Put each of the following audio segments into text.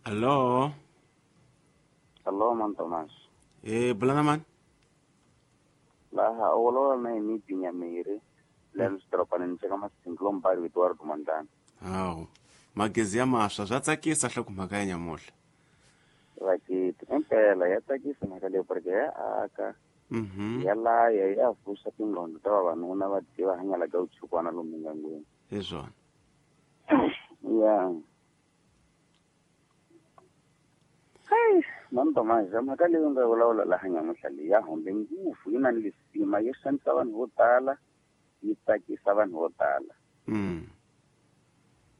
Allo. Allo, man Thomas. Eh, bulana man. Laha olola na imi pinyamiri. Lens dropani ncheka masinglo mbali Eduardo Mandana. Hawu. Magezi ya maswa swa tsakisa hloko mhaka ya nyamuhla. Vakiti impela ya tsakisa mhaka leyi porque ya aka. Ya laya ya vuxa tingqondo ta vavanuna va tiva hanyala ka vuchukwana lomu ngangweni. Hi swona. Ya. Hey, man Thomas, mhaka leyi nga vulavula laha nyamuhla leyi ya hombe ngopfu yi na lisima yi xanisa vanhu vo tala yi tsakisa vanhu vo tala.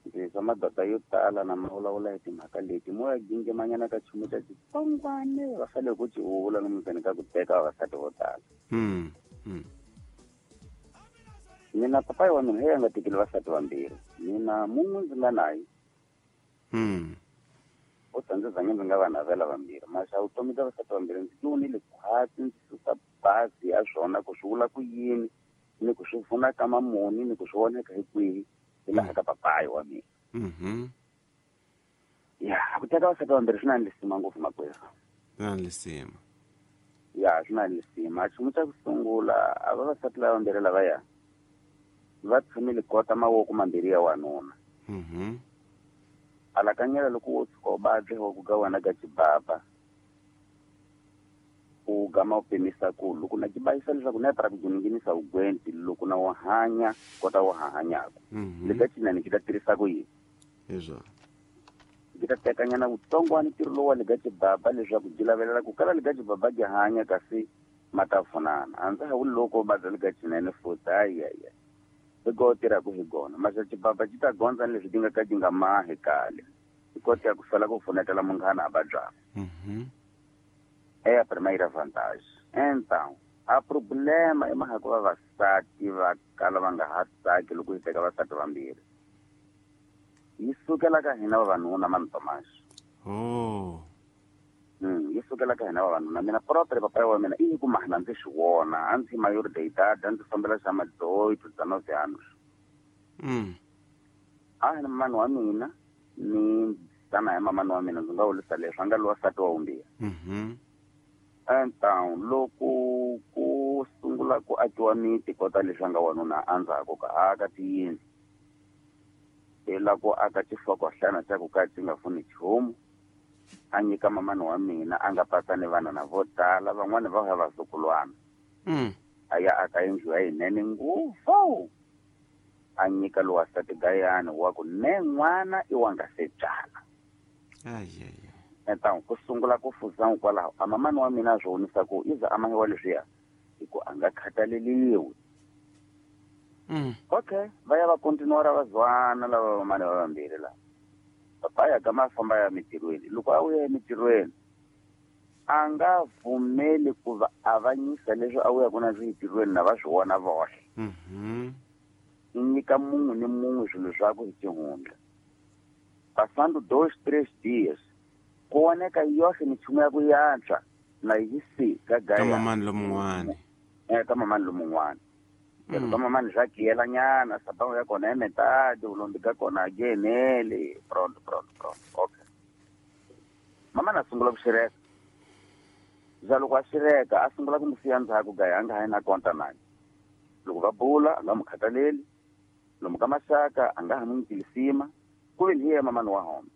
Ndzi madoda yo tala na ma vulavula hi timhaka leti mo ya gingemanyana ka nchumu xa xitsongwane va fanele ku ci vula lomu ka ku teka vavasati vo tala. Mina papayi wa mina hi a nga tekeli vasati vambirhi mina mun'we ndzi nga naye. U ta ndzi zange ndzi nga va navela vambirhi maxa vutomi bya vasati vambirhi ndzi vonile khwatsi ndzi susa bazi ya swona ku swi vula ku yini ni ku swi pfuna ka mamuni ni ku swi voneka hi kwihi hi laha ka papayi wa mina. Ya ku teka vasati vambirhi swi na lisima ngopfu makwerhu. Swi na lisima. Ya swi na lisima. Nchumu xa ku sungula a vavasati lava vambirhi lavaya va tshamile kota mavoko mambirhi ya wanuna. Alakanyela loko wo tshuka u badle wa ku ga wena ga xibaba u gama u pimisa ku loko na xibayisa leswaku na ra ku nghenisa vugwenti loko na wo hanya kota wo hanyaka le ka cinani ki ta tirhisa ku yini hi swona ki ta tekanyana vutsongwana ntirho lowu wa le ka xibaba leswaku byi lavelela ku kala le ka xibaba byi hanya kasi ma ta pfunana a ndza ha vuli loko u badla le ka cinene futhi hayi hi go tirhaka hi gona maxa xibaba xi ta gondza ni leswi ti nga ka ti nga mahi kale hi kota ku sala ku pfunetela munghana a vabyaka. É a primeira vantagem. Então, a problema é mhaka ku vavasati va kala va nga ha tsaki loko hi teka vasati vambirhi. Yi sukela ka hina vavanuna mani Thomas. Oh. Yi sukela ka hina vavanuna. Mina propre papayi wa mina i ku mahana ndzi swi vona a ndzi maior de idade a ndzi fambela xa ma-18 19 anos. A hi na mamani wa mina ni tana hi mamani wa mina ndzi nga vurisa leswi a nga lowa nsati wa vumbirhi. Então loko ku sungula ku akiwa miti kota leswi a nga wanuna endzhaku ka aka tiyindlu hi la ku aka xifokohlana xa ku ka xi nga pfuni nchumu a nyika mamani wa mina a nga patsa ni vana na vo tala van'wani va ya vazukulwana. A ya aka yindlu ya yinene ngopfu a nyika lowa nsati gayani wa ku ne n'wana i wa nga se byala. Então ku sungula ku fuza kwalaho a mamani wa mina a swi vonisa ku iza a mahiwa leswiya hi ku a nga khathaleliwi. Okay, va ya va continuara va zwana lava vamani va vambirhi lava. Papa ya gama a famba ya mitirhweni loko a vuya emitirhweni a nga pfumeli ku va avanyisa leswi a vuyaku na swi entirhweni na va swi vona voxe. I nyika mun'we ni mun'we swilo swakwe hi xihundla. Passando 2, 3 dias ku voneka yoxe minchumu ya ku yantswa na yi si ka gaya. Ka mamani lomun'wana. Ka mamani lomun'wana. Ka mamani swa kiyelanyana sapawu ya kona ya metadi vulombi ka kona a genele pronto pronto pronto. Okay. Mamani a sungula ku xireka. Za loko a xireka a sungula ku n'wi siya ndzhaku gaya a nga ha yi na konta naye. Loko va bula a nga n'wi khathaleli lomu ka maxaka a nga ha n'wi nyiki lisima ku ve ni yena mamani wa home.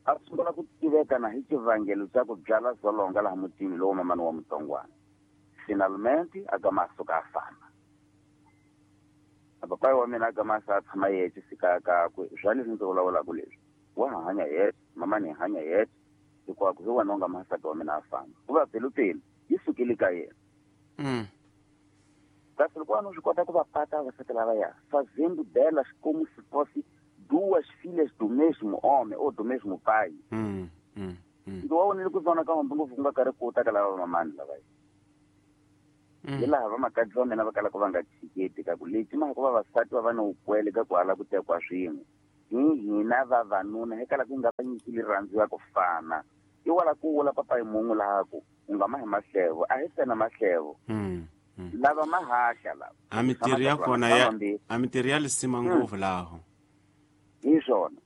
A sungula ku tiveka na hi xivangelo xa ku byala zolonga laha mutini lowu mamani wa mutsongwana. Finalmente a gama a suka a famba. A papayi wa mina a gama a sa tshama yexe sikaya kakwe swa leswi ndzi vulavulaka leswi wa ha hanya yexe mamani hi hanya yexe hikwako hi wena u nga masati wa mina a famba ku va pelupelu yi sukile ka yena. Kasi loko vanhu swi kota ku va pata vavasati lavaya fazendo delas como se fosse duas filhas do mesmo homem ou do mesmo pai. Ndzi wa vonile ku zona ka hombe ngopfu ku nga karhi ku ta ka lava mamani lavaya. Hi laha vamakadzi va mina va kalaka va nga tshiketi ka ku leti mhaka ku vavasati va va ni vukwele ka ku hala ku tekiwa swin'we hi hina vavanuna hi kala ku nga va nyiki rirhandzu ya ku fana i wala ku vula papayi mun'we laha ku u nga mahi mahlevo a hi tsena mahlevo. Lava mahahla lava a mitirho ya kona ya a mitirho ya lisima ngopfu laho hi swona.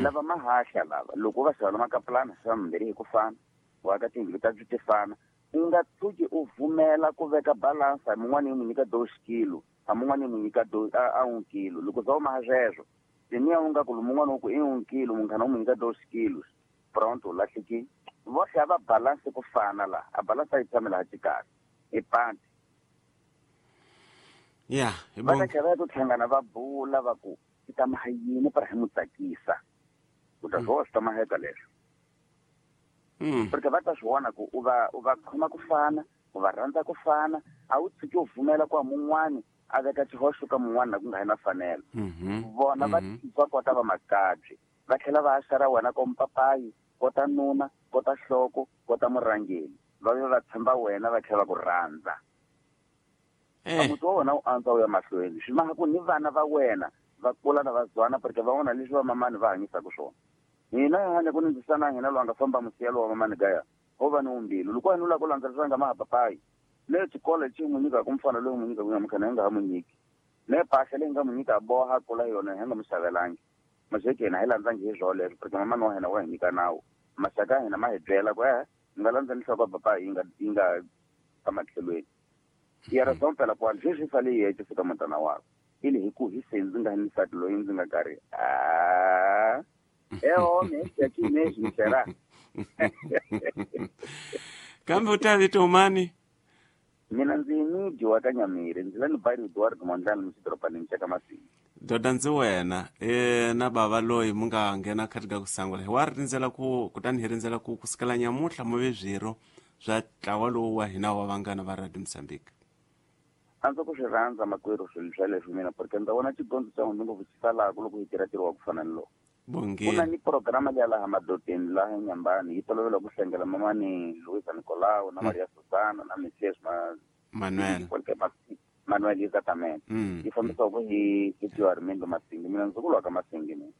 Lava mahahla lava loko va xava makapulana xava mambirhi hi ku fana wa ka tiyindlu ta ti fana u nga tshuki u vumela ku veka balance a mun'wana yi n'wi nyika 2 kilo a mun'wana yi n'wi nyika a 1 kilo loko za u maha sweswo teniya u nga ku mun'wana u ku i 1 kilo munghana u n'wi nyika 2 kilos pronto u lahlekile vohle a va balance ku fana la a balance a yi tshame laha xikarhi i panti ya va ta tlhela va ya ku hlangana va bula va ku i ta maha yini para hi n'wi tsakisa u ta swi swi ta maheka leswo porque va ta swi vona ku u va khoma ku fana u va rhandza ku fana a wu tshuki u pfumela ku mun'wani a veka xihoxo ka mun'wana na ku nga hi na fanelo vona va va kota va makabyi va tlhela va xara wena ko mpapayi kota nuna kota hloko kota murhangeri va ve va tshemba wena va tlhela va ku rhandza muti wa wena u antswa u ya mahlweni swi maha ku ni vana va wena va kula na va zwana porque va vona leswi va mamani va hanyisaka swona hina hi hanya ku ni ndzisana hina loyi a nga famba musiyelo wa mamani gaya ho va ni umbilu loko wena u lava ku landzelerisa nga maha papayi le xikolo lexi n'wi nyikaka mfana loyi n'wi nyikaka nyamukhana hi nga ha n'wi nyiki le mpahla leyi nga n'wi nyika boha kula yona hi nga n'wi xavelangi maxeke hina hi landzangi hi swona leswo porque mamani wa hina wa hi nyika nawu maxaka ya hina ma hi byela ku mi nga landzeni nhloko ya papayi yi nga ematlhelweni ya ra zompela kwani sweswi sale yi yexe fika mutana wakwe ili hi ku hi se ndzi nga ni nsati loyi ndzi nga karhi a eho me será kambe u ta vito mani mina ndzi ni dyiwa ka Nyamiri ndzi la ni bayiri Eduardo Mondlane muxidorobanini xa ka Masinga doda ndzi wena na bava loyi mu nga nghena khati ka ku sangula hi wa rindzela ku kutani hi rindzela ku kusukela nyamutlha mu ve swirho swa ntlawa lowu wa hina wa vanghana va Radio Mozambique a ndzi ku swi rhandza makwerhu swilo swa leswi mina porque ndza vona xigondzo xa n'wina ngopfu xi salaka loko hi tirha ntirho wa ku fana ni lowu ku na ni programa leya laha madodeni laha Nyambani yi tolovela ku hlengela mamani Luisa Nicolau na Maria Susana na Messias Manuel Manuel exactamente yi fambisiwaka hi Tio Armindo Masingi mina ndzi kulwa ka Masingi mina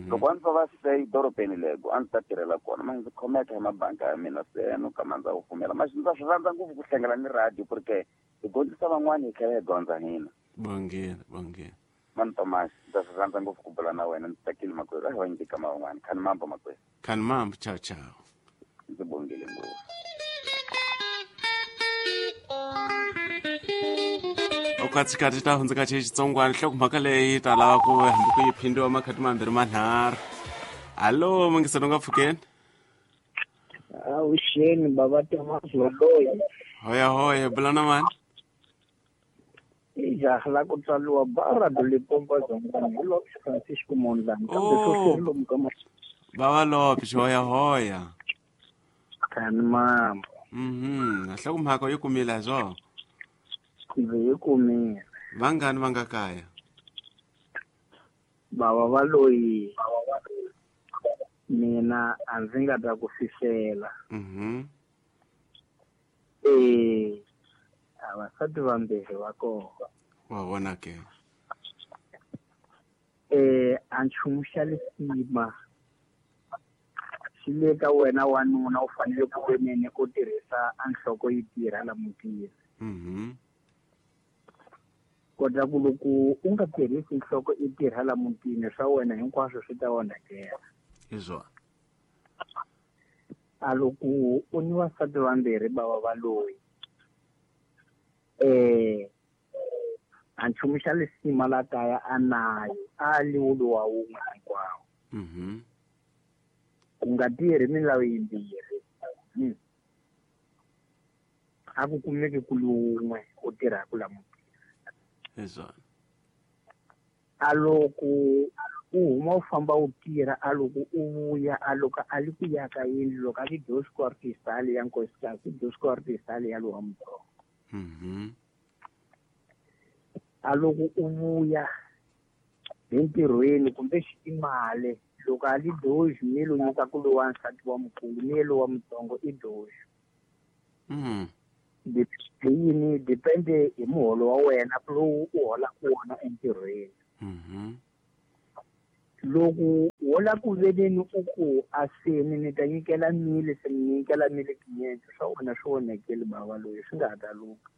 loko a ndzi va se dorobeni lego a ndzi ta tirhela kona ma ndzi khomeka hi mabanka ya mina se no kama ndza ku pfumela ma ndza swi rhandza ngopfu ku hlengela ni radio porque hi gondzisa van'wani hi tlhela hi gondza hina bongile bongile mani Thomas ndza swi rhandza ngopfu ku bula na wena ndzi tsakile makwerhu a hi va nyika van'wani khani mambo makwerhu khani mambo chao chao ndzi bongile ngopfu okatsikati ta hundzuka xitsongwana nhlokomhaka leyi ta lava ku hambi ku yi phindiwa makhati mambirhi manharhu hallo mungiselo nga pfukeni avuxeni baba Thomas Valoyi hoya hoya bula na mani i jaha la ku tswariwa Barra do Limpopo Dzongani hi Lopes Francisco Mondlane kambe sweswi lomu ka bava Lopes hoya hoya khani mambo nhlokomhaka yi kumile hi swona ndzi yi kumile vangani va nga kaya bava Valoyi mina a ndzi nga ta ku fihlela avasati vambirhi va kona wa vona ke a nchumu xa lisima xi le ka wena wanuna u fanele ku venene ku tirhisa a nhloko yi tirha la mutini kota ku loko u nga tirhisi nhloko i tirha la mutini swa wena hinkwaswo swi ta onhakela hi swona a loko u ni vasati vambirhi bava Valoyi a nchumu xa lisima la kaya a nayo a liwulu wa wun'we hinkwawo ku nga tirhi milawu yimbirhi a ku kumeki ku wun'we u tirhaka la mutini hi swona a loko u huma u famba u tirha a loko u vuya a loko a li ku ya ka yindlu loko a li dosco artistali ya nkosikazi dosco artistali ya lowa mutsongo a loko u vuya hi ntirhweni kumbe xitimali loko a li doxi mi lo nyika ku lowa nsati wa mukulu mi lowa mutsongo i doxi yini depende hi muholo wa wena lowu u holaka wona entirhweni loko wo la ku veneni u ku aseni ni ta nyikela mili se ni nyikela mili tinyenzi swa wena swi onhekeli bava loyi swi nga ha ta luka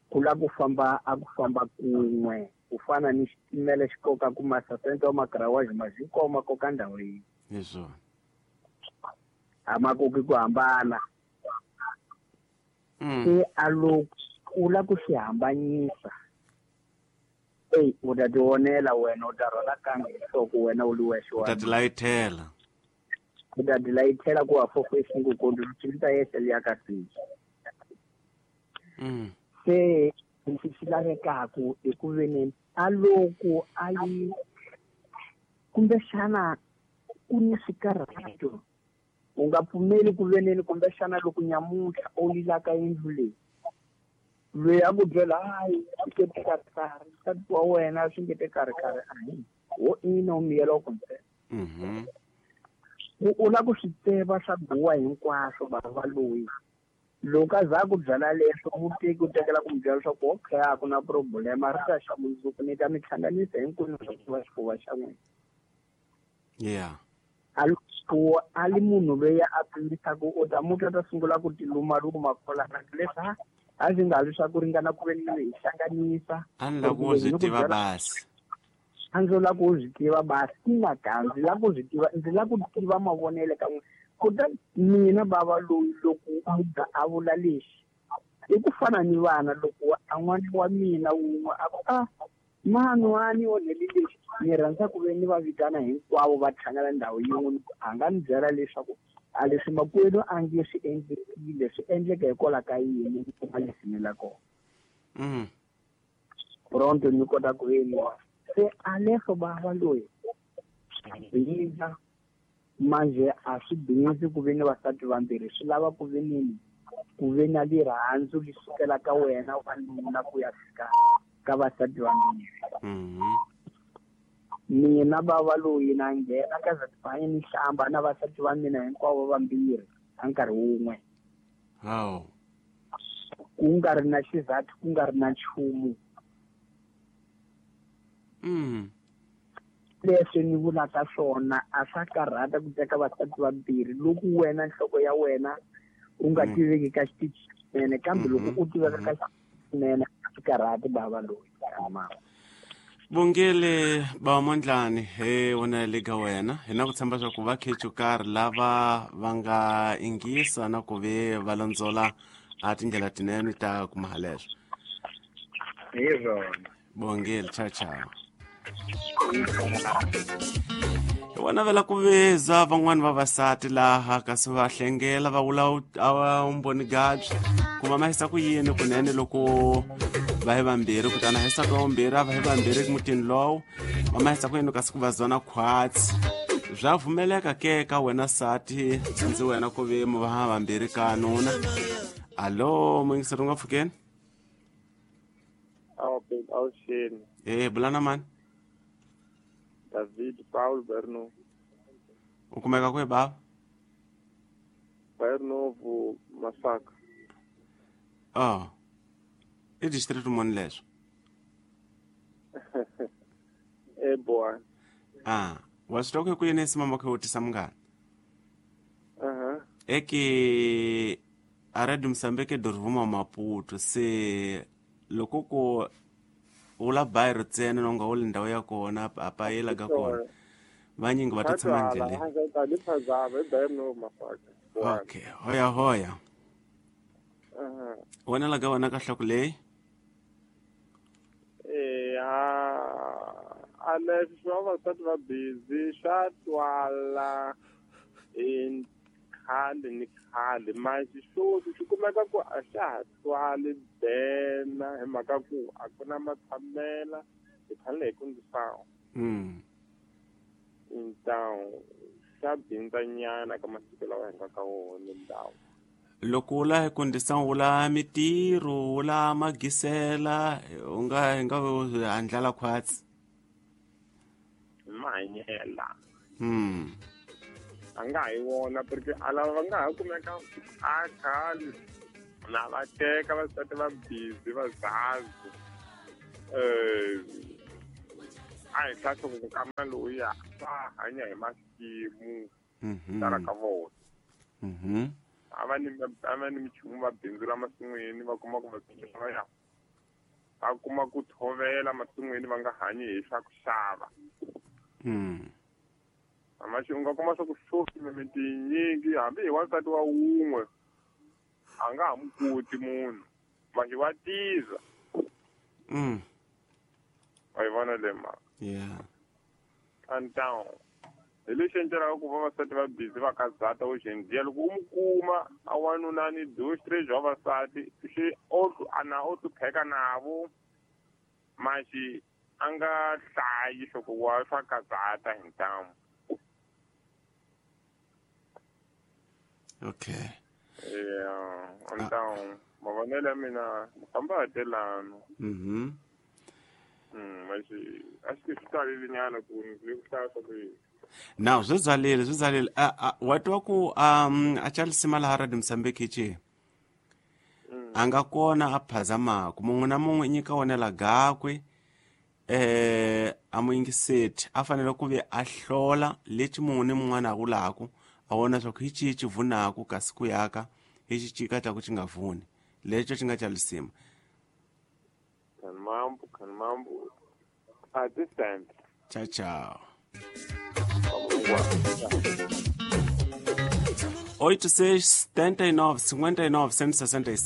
ku la ku famba a ku famba kun'we Ku fana ni xitimela xi koka ku masasente wa magarawaji ma hinkwawo ma koka ndhawu yin'we. Hi swona. A ma koki ku hambana. Se a loko u la ku swi hambanyisa, eyi u ta tionela wena, u ta rhwala kambe hi nhloko wena u li wexe. U ta tilayithela. U ta tilayithela ku wa fofo esingukondi luchilita yehle liya ka siji. Se lexi xi lavekaku i ku veni a loko a yi kumbexana ku ni swikarhato, u nga pfumeli ku veneni kumbexana loko nyamuntlha u lilaka yindlu leyi, loyi a ku byela hayi swi nge te karhi karhi, nsati wa wena swi nge te karhi karhi, a hi wo ina u miyela u ntsena. U la ku swi tiva swa guwa hinkwaswo bava loyi. Loko a za ku byela leswo, muteki u tekela ku mi byela leswaku okay, a ku na problema, ri ta xa mundzuku ni ta mi hlanganisa hinkwenu swa ku va xifuva xa n'wina. A loko a li munhu loyi a pimisaka, u ta muti a ta sungula ku tilumaluma kwalana leswi a swi nga ri swa ku ringana ku ve ni hi hlanganisa. A ni lava ku swi tiva basi. A ndzi lava ku swi tiva basi, ina ka ndzi lava ku swi tiva, ndzi lava ku tiva mavonelo ka n'wina. Kutani mina bava loyi loko muga a vula lexi, i ku fana ni vana loko a n'wana wa mina wun'we a ku a mani wa ni onhele lexi, ni rhandza ku ve ni va vitana hinkwavo va hlangana ndhawu yin'we, a nga ni byela leswaku a leswi makwenu a nge swi endlekile, swi endleka hikwalaho ka yini, ni kuma leswi la kona. Pronto ni kota ku ve ni se a leswo bava loyi bindza manje a swi bindzi ku ve ni vasati vambirhi, swi lava ku ve nini ku ve na lirhandzu li sukela ka wena wanuna ku ya fika ka vasati vambirhi. Mina bava loyi na nghena ka zatibanye ni hlamba na vasati va mina hinkwavo vambirhi a nkarhi wun'we. Ku nga ri na xizathu, ku nga ri na nchumu. Leswi ni vulaka swona a swa karhata ku teka vasati vambirhi loko wena nhloko ya wena u nga tiveki ka xitichi xinene, kambe loko u tiveka ka xinene a swi karhati bava loyi. Bongile ba Mondlane, he wona le ka wena hi na ku tshemba swa ku va khechu karhi lava va nga ingisa na ku ve va landzola a tindlela tinene ta kuma haleswo. Hi swona. Bongile, ciao ciao. Hi vona vela ku veza van'wani vavasati laha kasi va hlengela va vula vumbhoni gabyi ku va mahisa ku yini kunene loko va hi vambirhi, kutani hisaka vambirhi a va hi vambirhi mutini lowu va mahisa ku yini kasi ku va zona khwatsi. Bya pfumeleka ke ka wena sati ndzi wena ku ve mu va vambirhi ka nuna. Alo muyingiseri u nga pfukeni? Bulana mani? David Paul Berno. U kumeka kwihi bava? Berno vu Masaka. Oh. I district muni leswo? Boa. Ah, wa swi twa ku yini simama khe u tisa munghana? Eke a Radio Mozambique dorivuma Maputo se loko ko ula bayiro ntsena no nga uli ndhawu ya kona a payela ka kona vanyingi va ta tshama ndleleni. Okay, hoya hoya. Wena la ka wena ka hloko leyi? A leswi swa vavasati va busy swa twala hi khale ni khale, manje sweswi swi kumeka ku a xa ha twali bena hi mhaka ku a ku na matshamela, hi fanele hi kundzisawa. Ntawu xa bindzanyana ka masiku lawa hi nga ka wona ndhawu. Loko u la hi kundzisa u la mitirho, u la magisela, u nga hi nga handlala khwatsi. Mahanyela. A nga hi wona porque a lava va nga ha kumeka a khale na va teka vasati va busy va zazi. A hi tlhahla ku kama loyiya va hanya hi masimu tala ka vona. A va ni michumu va bindzula masin'wini va kuma ku va ya. A kuma ku thovela masin'wini va nga hanyi hi swa ku xava. Amaxi u nga kuma swa ku sweswi mimiti yinyingi hambi hi wansati wa wun'we a nga ha mu koti munhu maxi wa tiza. Wa yi vona le mhaka? Yeah. Então hi lexi endlelaka ku vavasati va busy va kazata hoje em dia loko u mu kuma a wanuna ni 2 3 vavasati xi ana o hlupheka navo maxi a nga hlayi swa ku wa swa kazata hi ntamu. Okay. Yeah, então mavonelo ya mina famba hatelano. Maxi a xi swi talele nyana ku ni ku hlaya swa ku Now swi zalile wa twa ku a chalisima laha Radio Mozambique ci a nga kona a phazamaku mun'we na mun'we nyika wonela gakwe a muyingiseti a fanele ku ve a hlola lexi mun'we ni mun'wana a vulaku a vona swa ku hi cihi ci vunaku kasi ku yaka hi xi cika xa ku xi nga vuni lexo xi nga chalisima. Kanmambu at this time. Ciao ciao. 86 79 59 166.